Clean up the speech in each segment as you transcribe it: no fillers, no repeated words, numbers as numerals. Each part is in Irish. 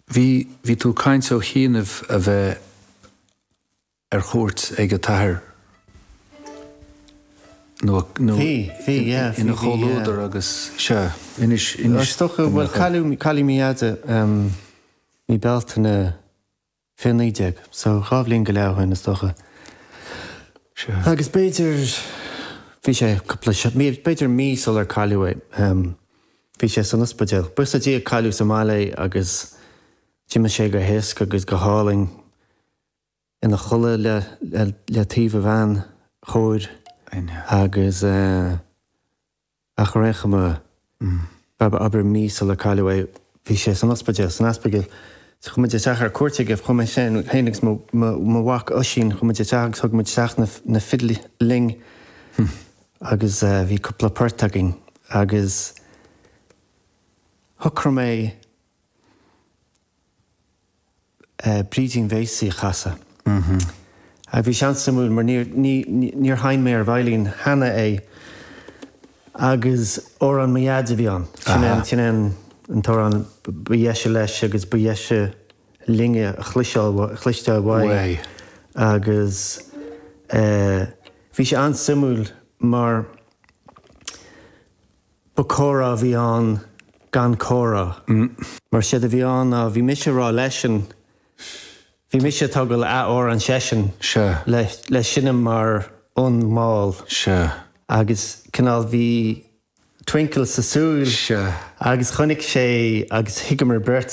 Bhí, bhí tú ag caint ó chianaibh a bheith ar chuairt ag a t-athair nó, nó Bhí, bhí, yeah, ina bhí, bhí, chomhluadar yeah. agus, sea, inis, inis Is dócha, bhuel, cailleadh, cailleadh mo dheaide mí Bealtaine 2019, so 2 bhliain go leith ó shin is dócha. Sea. Agus b'fhéidir, bhí sé cúpla, mí, b'fhéidir mí sular cailleadh é, bhí sé san ospidéal. Buíochas le Dia cailleadh sa mbaile é agus d'imigh sé go héasca agus go hálainn ina chodladh le, le, le taobh a bhean chóir agus eh, Ach ar aon chuma, abair mí sular cailleadh é, bhí sé san ospidéal, san Aspigil. So chuaigh muid isteach ar cuairt aige, chuaigh mé féin agus mo mhac Oisín, chuaigh muid isteach agus thug muid isteach na fidil linn agus bhí cúpla port againn agus shocraigh mé, Brídín Bhéasaí a chasadh. Agus bhí sé an-suimiúil mar níor, ní, níor sheinn mé ar veidhlín cheana é agus amhrán mo dhaid a bhí ann. Sin é an, sin é an, an t-amhrán ba dheise leis agus ba dheise linne a chloiseáil, a chloisteáil uaidh. Agus bhí sé an-suimiúil mar. Ba comhrá a bhí ann gan comhrá. Mar séard a bhí ann ná bhí mise ag rá leisean, bhí mise ag tógáil a amhrán seisean le le seinm mar fhonn mall. Agus cineál bhí twinkle sa súil agus chonaic sé agus thuigeamar beirt.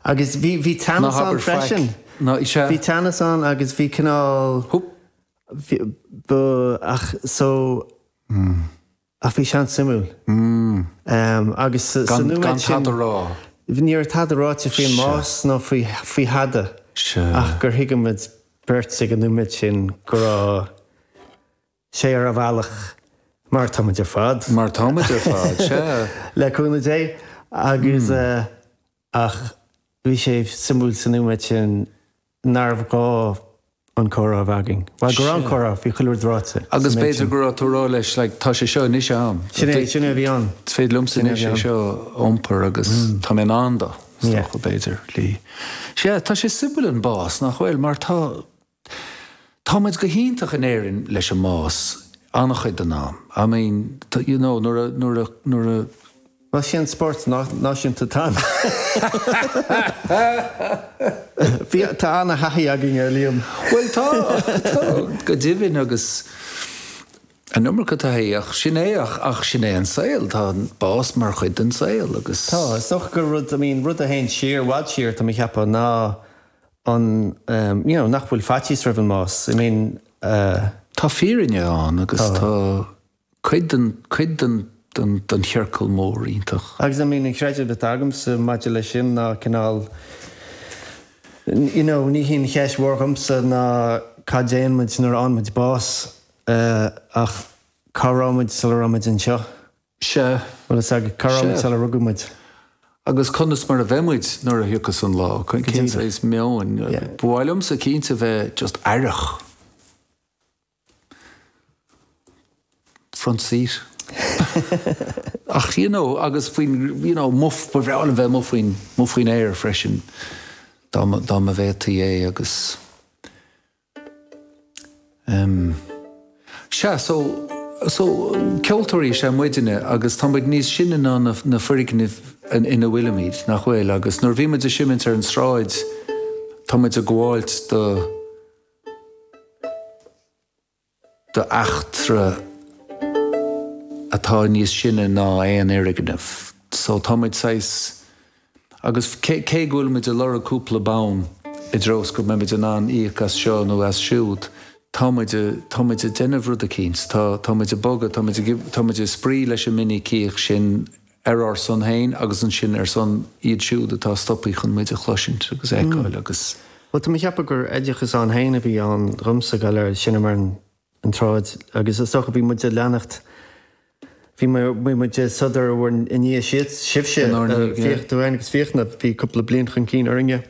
Agus bhí bhí teannas ann freisin. Bhí teannas ann agus bhí cineál bhí ba ach so Ach bhí sé an-suimiúil. Agus sa nóiméad sin. Gan tada a rá. Ní raibh tada ráite faoin mbás ná faoi thada. Ach gur thuig muid beirt ag an nóiméad sin go raibh sé ar a bhealach, mar atá muid ar fad. Mar atá muid ar fad, sea. Le cúnamh Dé. Agus, ach bhí sé suimiúil sa nóiméad sin nárbh ghá an comhrá a bheith againn. Bhuel, go raibh an comhrá, bhí chuile rud ráite. Agus b'fhéidir go raibh tú ag rá leis, like, tá sé seo anois a'm. Sin é, sin é a bhí ann. Is féidir liomsa anois é seo a iompar agus tá mé in ann dó, is dócha, b'fhéidir. Lee. Sea, tá sé suimiúil an bás, nach bhfuil? Mar tá, tá muid go hiontach in Éirinn leis an mbás, an-chuid den am. I mean, you know, nuair a, nuair a, nuair a, Bhuel, sin an spórt náisiúnta atá ann. Bhí, tá ana-thaithí againn air, Liam. Bhuel, tá, tá, go deimhin, agus an iomarca taithí, ach sin é, ach, ach sin é an saol, tá an bás mar chuid den saol agus. Tá, is dócha gur rud, I mean, rud a théann siar, i bhfad siar, tá mé a cheapadh, ná an, you know, nach bhfuil faitíos roimh an mbás, I mean, eh. Tá fírinne ann agus tá. Cuid den, cuid den, den, den chiorcal mór iontach. Agus I mean an creideamh atá agamsa maidir leis sin ná cineál, you know, ní hí an cheist mhór dhomsa ná cad déanann muid nuair a fhaigheann muid bás ach cá raibh muid sula raibh muid anseo. Sea. Bhfuil fhios agat, cá raibh muid Sea. sular rugadh muid. Agus conas mar a bheidh muid nuair a thiocfas an lá, cén saghas meoin. Ba mhaith liomsa cinnte bheith just aireach. Front seat. Ach you know, agus faoin, you know, amuigh, ba bhreá liom bheith amuigh faoin, amuigh faoin aer freisin dá mba, dá mba bhféadfaí é agus em, sea, so, so ceoltóirí is ea muidne agus tá muid níos sine ná na, na foirgnimh ina bhfuilimid, nach bhfuil? Agus nuair a bhí muid ag seimint ar an sráid, tá muid ag gabháilt do, d'eachtra atá níos sine ná aon fhoirgneamh. So tá muid saghas, agus cé cé go bhfuil muid ag lorg cúpla bonn i dtreo is go mbeidh muid in ann íoc as seo nó as siúd, tá muid, tá muid ag déanamh rud eicínt, tá, tá muid ag bogadh, tá muid ag, tá muid ag spraoi leis an minicíocht sin ar ár son féin agus ansin ar son iad siúd atá stoptha chun muid a chloisint agus a fheiceáil agus. Bhuel, tá mé ag ceapadh gur oideachas ann féin a bhí ann dhomsa gabháil ar seinm ar an tsráid agus is dócha bhí muid ag leanacht, bhí muid ag sodar bhur i ndiaidh sibhse, Fiach, tú féin agus Fiachna, bhí cúpla bliain chun cinn orainne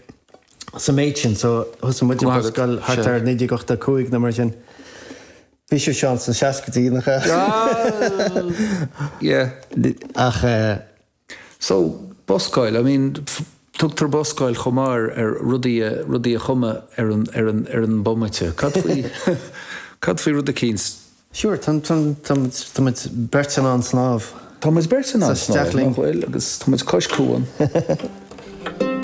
sa méid sin so thosaigh muid ag buscáil thart ar 1985 nó mar sin. Bhí sibhse ann sna seascaidí, nach ea? Yeah. Ach eh. So, buscáil, I mean, Tugtar buscáil chomh maith ar rudaí a, rudaí a chumadh ar an, ar an, ar an bomaite. Cad faoi, cad faoi rud eicínt? Sure, tá, tá, tá muid, tá muid beirt in ann snámh. Tá muid beirt in ann snámh, nach bhfuil? Agus tá muid cois cuan.